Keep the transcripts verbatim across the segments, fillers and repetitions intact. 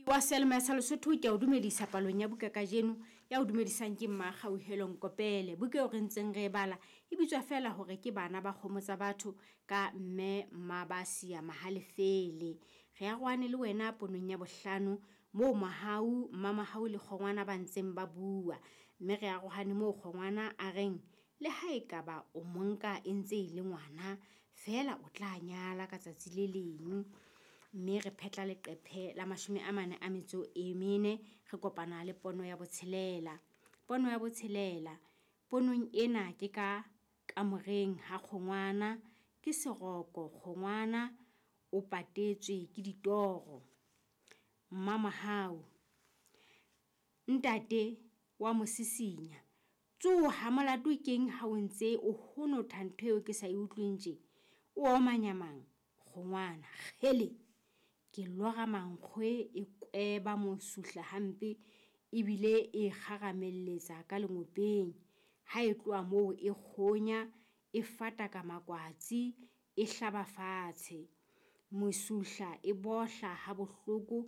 Wa seyalemoya sa Lesotho, ke a o dumedisa palong ya buka kajeno. Ya o dumedisang ke Mmakgauhelo Nkopele. Buka eo re ntseng re e bala e bitswa feela hore ke Bana ba Kgomo Tsa Batho ka Mme Mmabasia Mahalefele. Re arohane le wena ponong ya bohlano moo Mohau, Mmamahau le Kgongwana ba ntseng ba bua. Mme re arohane moo Kgongwana a reng le ha ekaba o monka e ntse e le ngwana, feela o tla nyala ka tsatsi le leng. Mme re phetla leqephe la mashome a mane a metso e mene, re kopana le pono ya botshelela. Pono ya botshelela, ponong ena ke ka kamoreng ha Kgongwana, ke seroko Kgongwana o patetswe ke ditoro. Mmamohau, ntate wa mo sisinya, tsoha molato keng ha o ntse o honotha ntho eo ke sa e utlweng tje? O omanya mang? Kgongwana, kgele! Ke lora mankgwe e kweba mosuhla hampe ebile e kgaramelletsa ka lengopeng. Ha e tloha moo e kgonya, e fataka makwatsi, e hlaba fatshe. Mosuhla e bohla ha bohloko,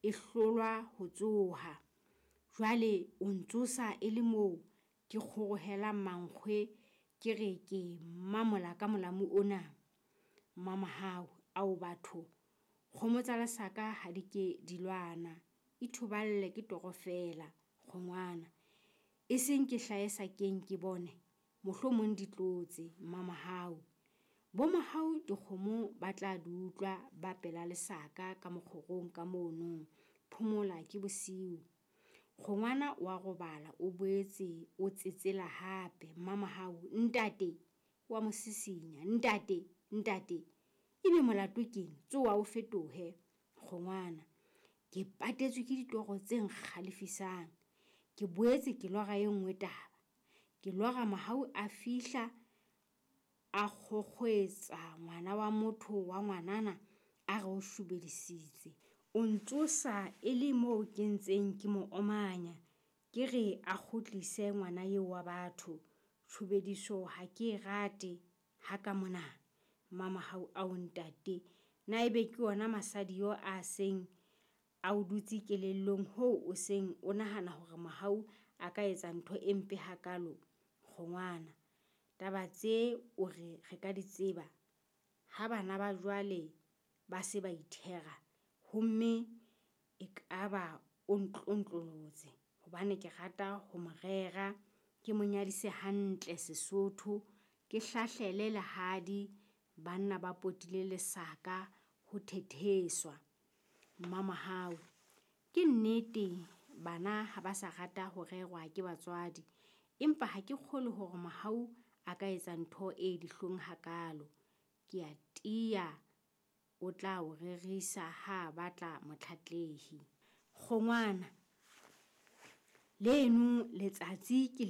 e hlolwa ho tsoha. Jwale o ntsosa e le moo ke kgorohelang mankgwe, ke re ke mamola ka molamu ona. Mmamohau, ao batho, kgomo tsa lesaka ha di ke di lwana. Ithoballe ke toro feela, Kgongwana. E seng ke hlahe sakeng ke bone, mohlomong di tlotse, Mmamohau. Bo Mohau dikgomo ba tla di utlwa ba pela lesaka ka mokgorong ka mono. Phomola ke bosiu. Kgongwana wa robala o boetse o tsetsela hape. Mmamohau, ntate wa mo sisinya, ntate, ntate, ebe molato keng? Tsoha o fetohe. Kgongwana, ke patetswe ke ditoro tse nkgalefisang. Ke boetse ke lora e nngwe taba. Ke lora Mohau a fihla a kgokgoetsa ngwana wa motho wa ngwanana a re o shobedisitse. O ntsosa e le moo ke ntseng ke mo omanya, ke re a kgutlise ngwana eo wa batho. Tshobediso ha ke e rate ha ka mona. Mmamohau, ao ntate, na ebe ke yona masadi yo a seng a o dutse kelellong hoo o seng o nahana hore Mohau a ka etsa ntho e mpe hakalo? Kgongwana, taba tse o re re ka di tseba ha bana ba jwale ba se ba ithera, homme ekaba o ntlontlolotse hobane ke rata ho mo rera, ke mo nyadise hantle Sesotho, ke hlahlele lehadi, banna ba potile lesaka ho thetheswa. Mmamohau, ke nnete bana ha ba sa rata ho rerwa ke batswadi, empa ha ke kgolwe hore Mohau a ka etsa ntho e dihlong hakalo. Ke a tiya o tla o rerisa ha a batla motlatlehi. Kgongwana, leno letsatsi ke